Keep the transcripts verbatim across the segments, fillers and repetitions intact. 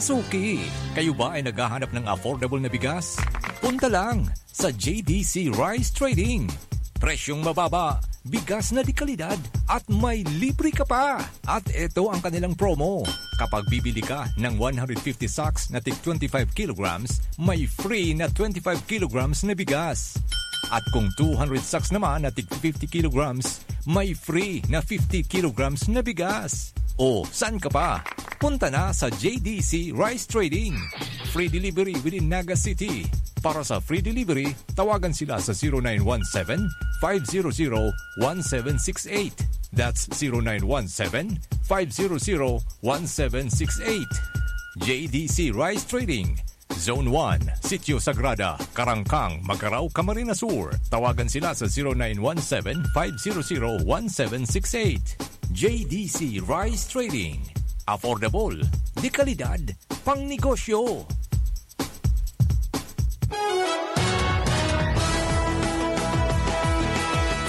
Suki, kayo ba ay naghahanap ng affordable na bigas? Punta lang sa J D C Rice Trading. Presyong mababa, bigas na de kalidad, at may libre ka pa! At eto ang kanilang promo. Kapag bibili ka ng one hundred fifty sacks na tig twenty-five kilograms, may free na twenty-five kilograms na bigas. At kung two hundred sacks naman na tig fifty kilograms, may free na fifty kilograms na bigas. O, saan ka pa? Punta na sa J D C Rice Trading. Free delivery within Naga City. Para sa free delivery, tawagan sila sa zero nine one seven, five zero zero, one seven six eight. That's zero nine one seven, five zero zero, one seven six eight. J D C Rice Trading, Zone one, Sitio Sagrada, Karangkang, Magarao, Camarines Sur. Tawagan sila sa zero nine one seven, five zero zero, one seven six eight. J D C Rice Trading. Affordable, de kalidad, pang negosyo.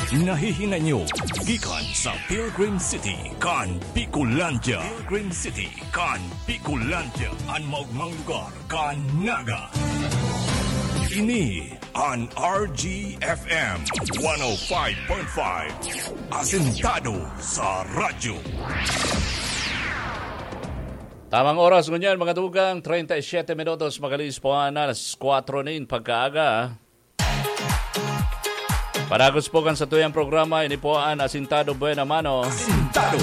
Nahihinay nyo gikan sa Pilgrim City kan Bicolandia. Pilgrim City kan Bicolandia, an maogmang lugar kan Naga. Ini an R G F M one oh five point five, asentado sa radyo. Tamang oras ngunyan, mga tugang, treinta y siete minutos, makalihis po an alas kwatro nin pagkaaga. Padagos po kan satuyang programa, ini po an Asintado Buena Mano. Asintado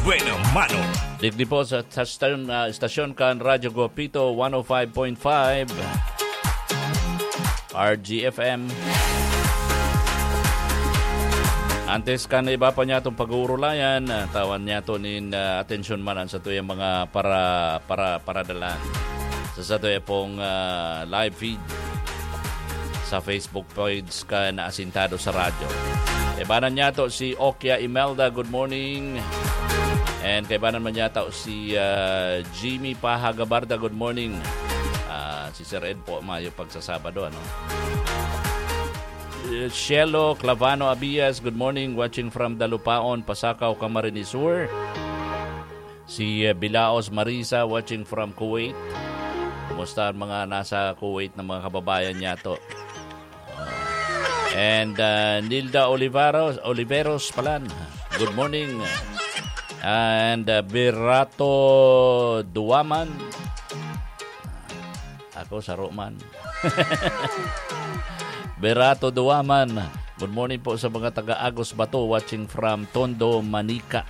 Buena Mano. Digdi po sa, sa stasyon, ah, estasyon kan Radyo Guapito, one oh five point five, R G F M. Antes kan iba pa niyatong pag-uurulayan, ah, tawan niyato nin, ah, atensyon man an satuyang mga para, para, paradalan sa satuya pong, ah, live feed sa Facebook page kan Asintado sa Radyo. Kaibanan niyato si Okia Imelda, good morning. And kaibanan man niyato si, ah, Jimmy Paha Gabarda, good morning. Ah, si Sir Ed po, mayo pagsasabado, ano? Eh, Shelo Clavano Abias, good morning, watching from Dalupaon, Pasacao, Camarines Sur. Si, eh, Bilaos Marisa, watching from Kuwait. Kumusta ang mga nasa Kuwait na mga kababayan niyato? And, uh, Nilda Oliveros, Oliveros palan, good morning. And, uh, Berato Duwaman. Ako, saro man. Berato Duwaman. Good morning po sa mga taga Agos Bato, watching from Tondo, Manica.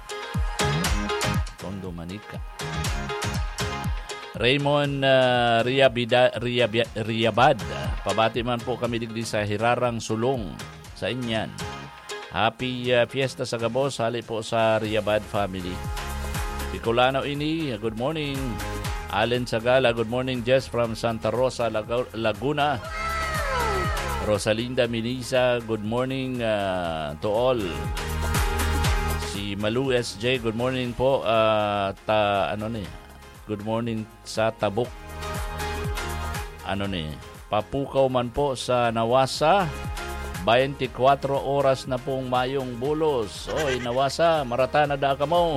Tondo, Manica. Raymond, ah, Riabida-, Riabia-, Riabad. Pabati man po kami digdi sa Hirarang Sulong, sa Inyan. Happy, ah, fiesta sa gabos, hali po sa Riabad family. Bicolano ini, good morning. Allen Sagala, good morning, Jess from Santa Rosa, Lagu-, Laguna. Rosalinda Minisa, good morning, ah, to all. Si Malu S J, good morning po. Ah, ta-, ano ni? Good morning sa Tabuk. Ano ni? Papukaw man po sa Nawasa. Baynti kwatro oras na pong mayong bulos. Oy, Nawasa, marata na da kamo.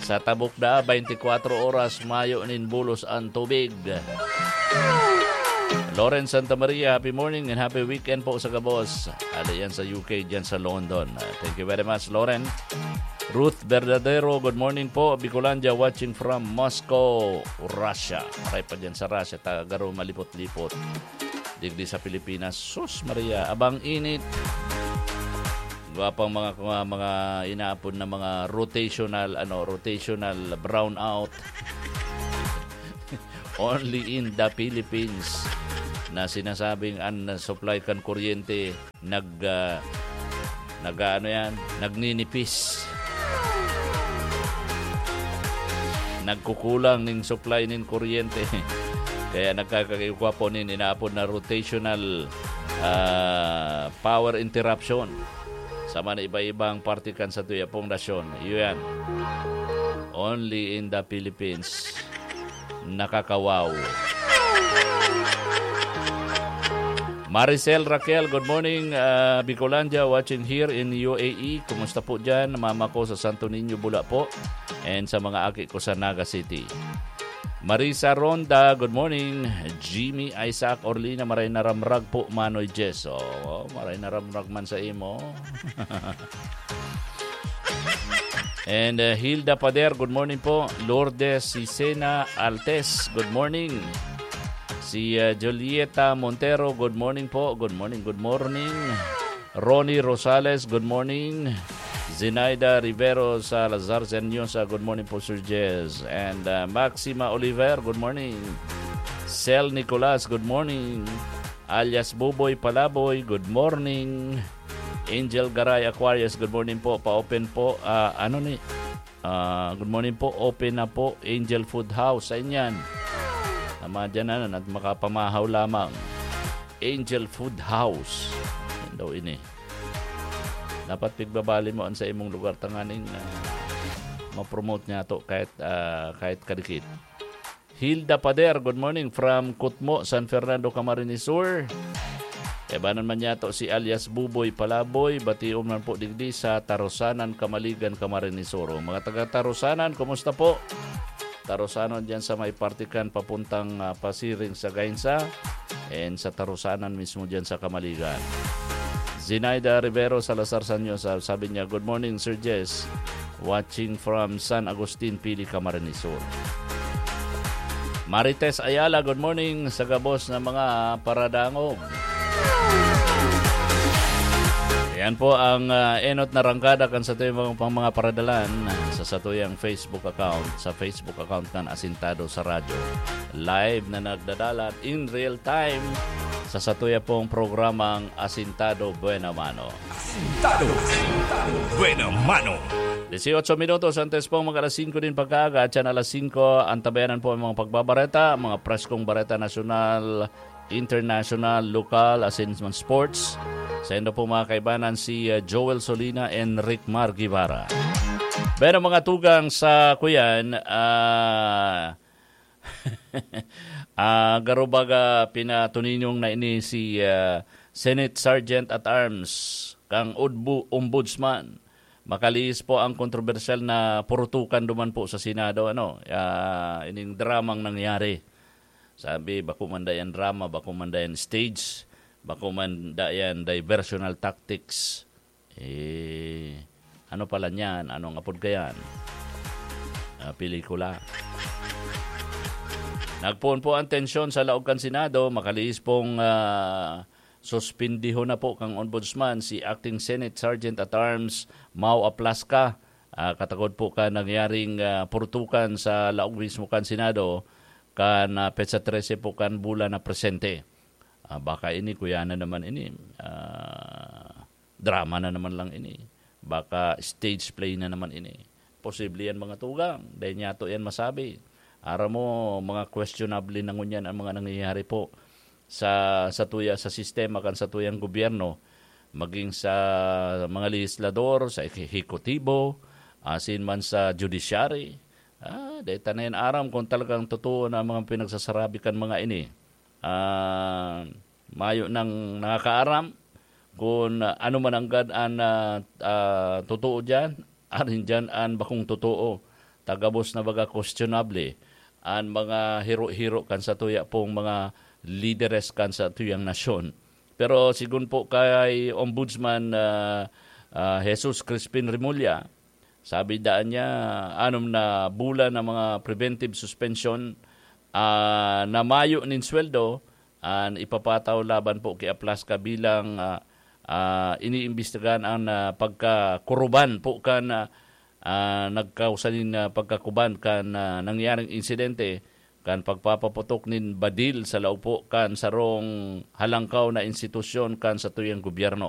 Sa Tabuk da, baynti kwatro oras mayo nin bulos an tubig. Lauren Santa Maria, happy morning and happy weekend po sa gabos. Hali yan sa U K, dyan sa London. Ah, thank you very much, Lauren. Ruth Verdadero, good morning po. Bicolandia, watching from Moscow, Russia. Aray pa dyan sa Russia, taga garo malipot-lipot. Digdi sa Pilipinas, sus Maria, abang init. Gwapang mga, mga, mga inaapod na mga rotational, ano, rotational brownout. Only in the Philippines na sinasabing an supply kan kuryente nag, ah, nag-aano yan, nagninipis. Nagkukulang ning supply nin kuryente. Kaya nagkakagigwa po nin inaapod na rotational, ah, power interruption sa mga iba-ibang parte kan satuya pong nasyon. Iyo yan. Only in the Philippines. Nakakawaw. Maricel Raquel, good morning, ah, Bicolandia, watching here in U A E. Kumusta po dyan? Mama ko sa Santo Niño, Bula po. And sa mga aki ko sa Naga City. Marisa Ronda, good morning. Jimmy Isaac Orlina, maray na ramrag po, Manoy Jess. Oh, maray na ramrag man sa imo. And uh, Hilda Pader, good morning po. Lourdes Sisena Altes, good morning. Si uh, Julieta Montero, good morning po. Good morning, good morning. Ronnie Rosales, good morning. Zenaida Rivero Salazar Senyosa, good morning po, Sir Jess. And uh, Maxima Oliver, good morning. Sel Nicolas, good morning. Alias Buboy Palaboy, good morning. Angel Garay Aquarius, good morning po. Pa-open po. Ah, ano ni? Ah, good morning po. Open na po, Angel Food House. Sa inyan. Tama dyan na, at makapamahaw lamang. Angel Food House. Yan daw ini. Dapat pigbabali mo an sa imong lugar tanganing ah, ma-promote niya to kahit, ah, kahit kadikit. Hilda Pader, good morning from Kutmo, San Fernando, Camarines Sur. Ebanan man niya to si alias Buboy Palaboy, bation man po digdi sa Tarusanan, Camaligan, Camarines Sur. Mga taga Tarusanan, kumusta po? Tarusanan dyan sa may parte kan papuntang ah, Pasiring sa Gainsa and sa Tarusanan mismo dyan sa Camaligan. Zinaida Rivero Salazar Sanyo, sa- sabi niya, "Good morning, Sir Jess. Watching from San Agustin, Pili, Camarines Sur." Marites Ayala, good morning sa gabos na mga paradangog. Yan po ang ah, enot na rangkada kan satuyang mga, pang mga paradalan sa satuyang Facebook account, sa Facebook account kan Asintado sa Radyo. Live na nagdadalat in real time sa satuya pong programang Asintado Buena Mano. Asintado, Asintado, Buena Mano. Dieciocho minutos antes pong mag alas singko din pagkaaga, at yan alas singko, antabayanan po ang mga pagbabareta, mga preskong bareta nasyonal, international, lokal, asin man sports. Saindo po mga kaibanan si uh, Joel Solina and Rick Mar Guevara. Pero mga tugang sa kuyan, ah, ah, garo baga pinatuninyong na ini si ah, Senate Sergeant at Arms, kang Udbu-, Ombudsman. Makalihis po ang kontrobersyal na purutukan duman po sa Senado, ano, ah, ining dramang nangyari. Sabi, bako man dayan drama, bako man dayan stage, bako man dayan diversional tactics. Eh, ano pala niyan? Anong apod kayan? Ah, pelikula. Nagpoon po ang tensyon sa laog kan Senado, makalihis pong ah, suspindihon na po kang Ombudsman si Acting Senate Sergeant at Arms Mau Aplasca, ah, katagod po kan nangyaring ah, purtukan sa laog mismo kan Senado kan ah, petsa trese po kan bulan na presente. Ah, baka ini, kuya na naman ini. Ah, drama na naman lang ini. Baka stage play na naman ini. Posible yan, mga tugang. Dahil niya to yan masabi. Aram mo, mga questionable na ngunyan ang mga nangyayari po sa, sa tuya, sa sistema kan sa tuyang gobyerno, maging sa mga legislador, sa ehekutibo, asin man sa judiciary. Ah, dahil ta na yan aram kung talagang totoo na ang mga pinagsasarabi kan mga ini. Ah, mayo nang nakakaaram kung ano man ang gad an ah, ah, totoo diyan, arin diyan an bakong totoo. Tagabos na baga questionable an mga hiro-hiro kan sa tuya pong mga lideres kan sa tuyang nasyon. Pero sigun po kay Ombudsman ah, ah, Jesus Crispin Remulla, sabi daan niya, anom na bulan na mga preventive suspension ah, na mayo nin sweldo an ipapataw laban po ki Aplasca bilang ah, ah, iniimbestigahan an ah, pagkakuruban po kan ah, ah, nagkausa nin ah, pagkakuban kan ah, nangyaring insidente kan pagpapaputok nin badil sa laog po kan sarong halangkaw na institusyon kan satuyang gobyerno.